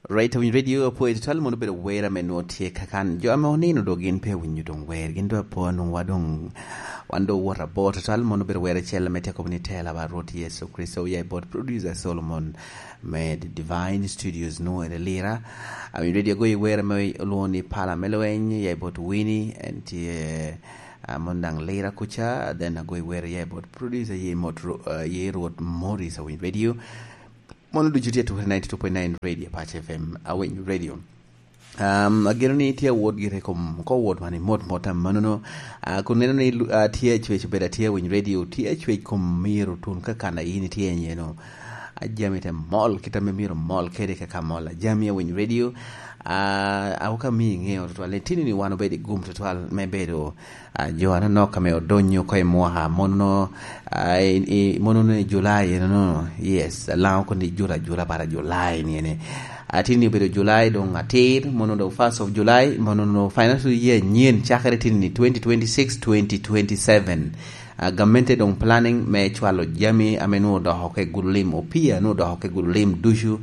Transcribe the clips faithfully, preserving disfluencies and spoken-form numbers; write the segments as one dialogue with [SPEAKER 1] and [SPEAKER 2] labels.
[SPEAKER 1] Right awinyo radio apo twal mondo bedo wer ame no tie kakan jo ame onino do gin pe winyo dong wer gin do apo nung wadong wan do wuot abor twal mondo bedo wer achiel ame teko ni tela ba Ruoth Yesu Kristo ya bot producer Solomon me The Divine Studios no ere lira awinyo radio go wer ame oluongo ni pala melweny ya bot Winnie entie uh, mondang lira kucha then ago wer ya bot producer ye mot uh, ye Ruoth Morris awinyo radio mondo ducu tye ture ninety-two point nine radio Apache F M awinyo radio. Um, ageno ni tye wot gire kom ko wot mani mot mot manono uh, kun neno ni uh, tye chwech bedo tye awinyo radio tye chwech kom miro tun kaka na in tye nyeno ajami te mol kita me miro mol kede kaka mol ajami awinyo radio uh, awuka mi ng'eyo twal ni tini ni wan obedi gum twal me bedo uh, jo aneno ka me odonyo ko e mwaha mono uh, i, mono ni July no no yes lao ko ni jura jura para July ni ene atini bedo July dong atir mono do first of July mono no financial year nyien chakre tini ni twenty twenty-six twenty twenty-seven uh, gamente dong planning me chwalo jami amenu do hoke gulim opia no do hoke gulim dushu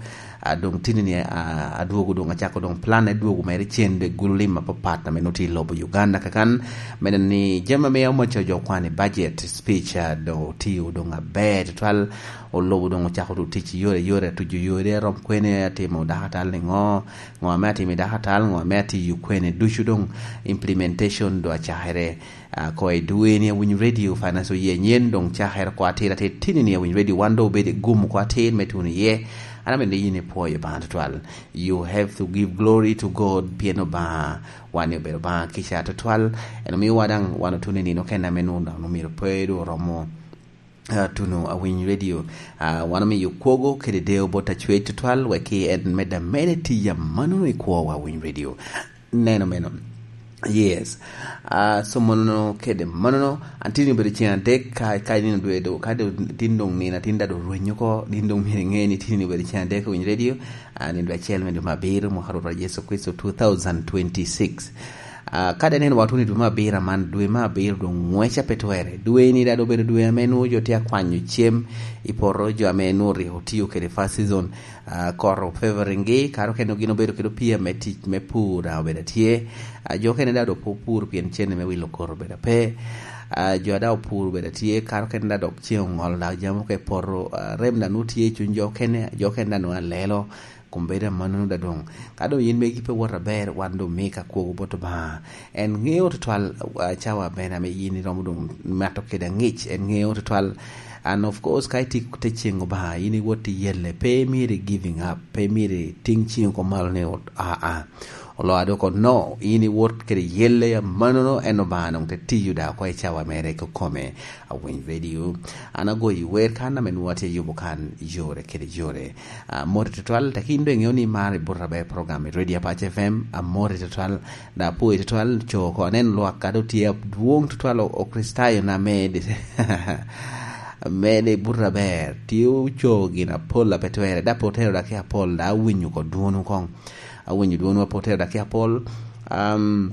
[SPEAKER 1] uh, dong tini ni uh, aduogo dong achako dong plan aduogo mere chende gulim mapapat na menuti lobo Uganda kakan mena ni jama me omacho jo kwani budget speech uh, do tiyo dong aber twal olobo dong ochako do tich yore yore tuju yore rom kwene atimo dakatal ni ngo ngo me atimo dakatal ngo me atiyo kwene dushu dong implementation do achahere uh, ko e dwe ni awinyo radio financial year nyien dong chahere ko atira te tini ni awinyo radio wando bede gum ko atir metuni ye ana mende yine poyo ba twal you have to give glory to God pieno ba wani obedo ba kisha twal eno mi wadang wano tune ni no kena menu no miro pedo romo Uh, tuno awinyo radio uh, wano mi yukwogo kede deo bota chwe twal weki en meda mede tiya manu ikwo wa awinyo radio neno meno yes uh, so monono kede manono antini bedo chien adek ka ka nino dwe do ka do tindong nina tinda do rwenyo ko dindong mire ngeni tini bedo chien adek awinyo radio uh, nindo achiel mendo mabiro mwaka wa Yesu Kristo two thousand twenty-six. Uh, kada neno watu ni dwe mabiro man dwe mabiro do ng'wecha petwere dwe ni dado bedo dwe amenu jo tia kwanyo chiem iporo jo amenu riho tiyo kede first season uh, koro favoring gi karo kendo gino bedo kedo pia me tich me pur obedo tie uh, jo kene dado pur pien chene me wilo koro bedo pe uh, jo ada pur bedo tie karo kendo dado chieng ng'ol da jamo ke poro uh, rem da nutie chuny jo kene jo kene dano alelo kumbeda manu da dong kado yin megi pe wora ber wando meka kuogo boto ba en ng'eyo to twal uh, chawa bena me yin romo dong mato keda ng'ich en ng'eyo to twal and of course kai ti te chengo ba yin woti yelle pe mire giving up pe mire ting chingo ko malo ne a a olo adoko no ini wot kede yelle ya manono eno ba nong te tiyu da ko e chawa mere ko kome awinyo radio ana go wer kana men wate yubo kan yore kede yore uh, more twal takindo ng'eyo ni mare burra be program radio Apache F M amore twal da po twal choko anen lo akado tie duong twal o kristayo na mede mede burra ber tiu chogi na pola petwere da potero da ke apol da winyu ko duonu kong awinyo duonu potero da ke apol um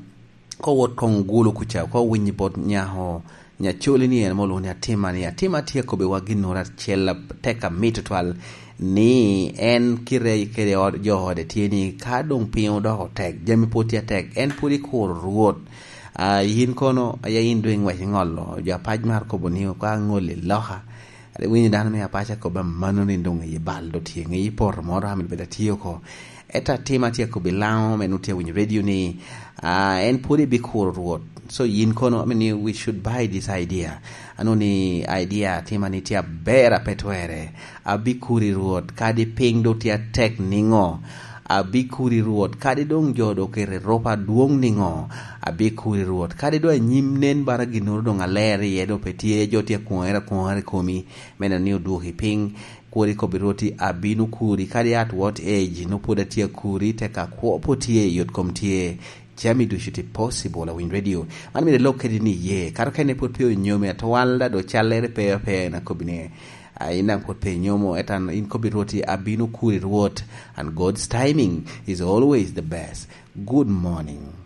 [SPEAKER 1] ko wot kong gulu kucha ko winyi bot nyaho nyacholi ni en molo ni atima ni atima tie ko be waginora chela teka mito twal ni en kire kere od johode tie ni ka dong piny odoko tek jami poti tek en podi kor ruoth uh, yin kono ya in doing wach ngolo japaj mar kobo ni ka ngole loha winyi dano me apacha ko ba mano ni ndong ye baldo tie ngi por moro hamil beda tiyo ko eta tema tie ko bilao menutie winyi radio ni uh, en podi bi kor ruoth so yin kono I mean, we should buy this idea ano ni idea tema ni tia bera petwere abikuri ruoth kadi piny do tia tek ningo abikuri ruoth kadi dong jodo kere ropa duong ningo abikuri ruoth kadi do nyim nen bara ginoro dong aler yedo petie jotie kuera kuera komi mena ni oduoki piny kuri kobiroti abinu kuri kadi at what age no poda tie kuri teka kwopo tie yot kom tie jami dushuti possible awin radio man mi lokedi ni ye karo kene pot pe nyome atwalda do chalere pe pe na kobine ina pot pe nyomo etan in kobiroti abinu kuri ruoth and God's timing is always the best. Good morning.